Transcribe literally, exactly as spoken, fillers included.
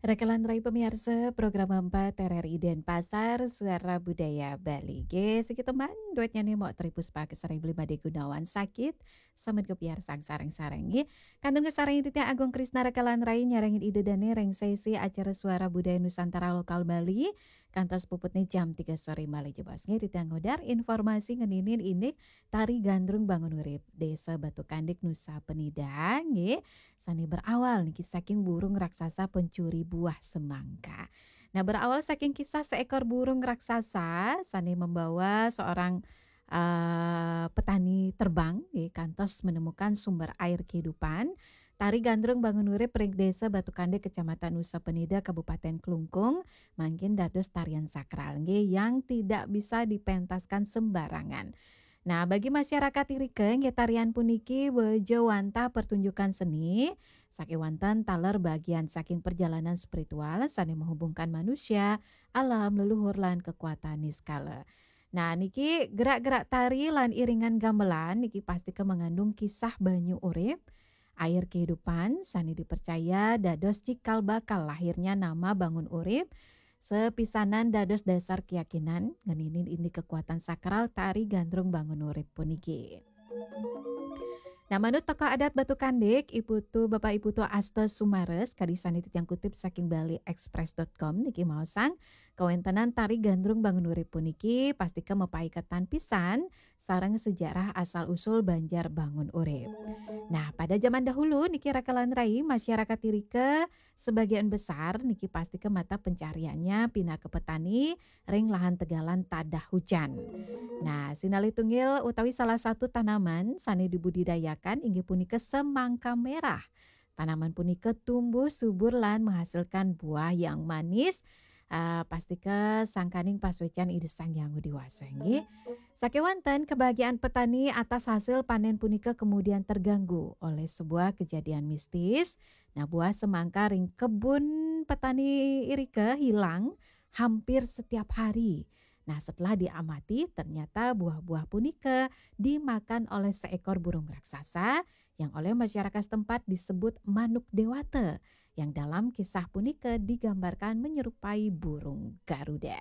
Rekelan rai pemiarsa program empat R R I Denpasar, Suara Budaya Bali. Nggih, siki teman, duet nyanyi mok Tri Puspa kesari beli Made Gunawan sakit, sambil kepiarsang sareng-sareng, nggih. Kantun kesareng Ditya Agung Krisna rekelan rai nyarengin ide dane reng sesi acara Suara Budaya Nusantara Lokal Bali, kantos puputne jam tiga sore malih jebos, nggih. Ditya ngodar informasi ngeninin indik Tari Gandrung Bangun Urip, Desa Batu Kandik, Nusa Penida, nggih. Sane berawal niki saking burung raksasa pencuri buah semangka. Nah, berawal saking kisah seekor burung raksasa sane membawa seorang, eh, petani terbang, nggih, kantos menemukan sumber air kehidupan. Tari Gandrung Bangun Urip ring Desa Batu Kandik, Kecamatan Nusa Penida, Kabupaten Klungkung, mangkin dados tarian sakral, nggih, yang tidak bisa dipentaskan sembarangan. Nah, bagi masyarakat irika, nggih, tarian puniki bejo wantah pertunjukan seni sakewanten taler bagian saking perjalanan spiritual sane menghubungkan manusia, alam, leluhur, lan kekuatan niskala. Nah, niki gerak-gerak tari lan iringan gamelan niki pastika mengandung kisah banyu urip, air kehidupan, sane dipercaya dados cikal bakal lahirnya nama Bangun Urip, sepisanan dados dasar keyakinan ngeninin indik kekuatan sakral Tari Gandrung Bangun Urip puniki. Nah, manut tokoh adat Batu Kandik, Iputu, Bapak Iputu Asta Sumares, kadi sane titiang kutip saking bali express dot com niki maosang, kawentenan Tari Gandrung Bangun Urip puniki pastika mapaiketan pisan sareng sejarah asal usul Banjar Bangun Urip. Nah, pada zaman dahulu niki rekelan rai, masyarakat irika sebagian besar niki pastika mata pencariannya pinaka petani ring lahan tegalan tadah hujan. Nah, sinalih tunggil utawi salah satu tanaman sane dibudidayakan inggih punika semangka merah. Tanaman punika tumbuh subur lan menghasilkan buah yang manis. Ah, pastika sangkaning pasuecan Ida Sang Hyang Widhi Wasa, nggih. Sakewanten kebahagiaan petani atas hasil panen punika kemudian terganggu oleh sebuah kejadian mistis. Nah, buah semangka ring kebun petani irika hilang hampir setiap hari. Nah, setelah diamati, ternyata buah-buah punika dimakan oleh seekor burung raksasa yang oleh masyarakat setempat disebut manuk dewata, yang dalam kisah punika digambarkan menyerupai burung garuda.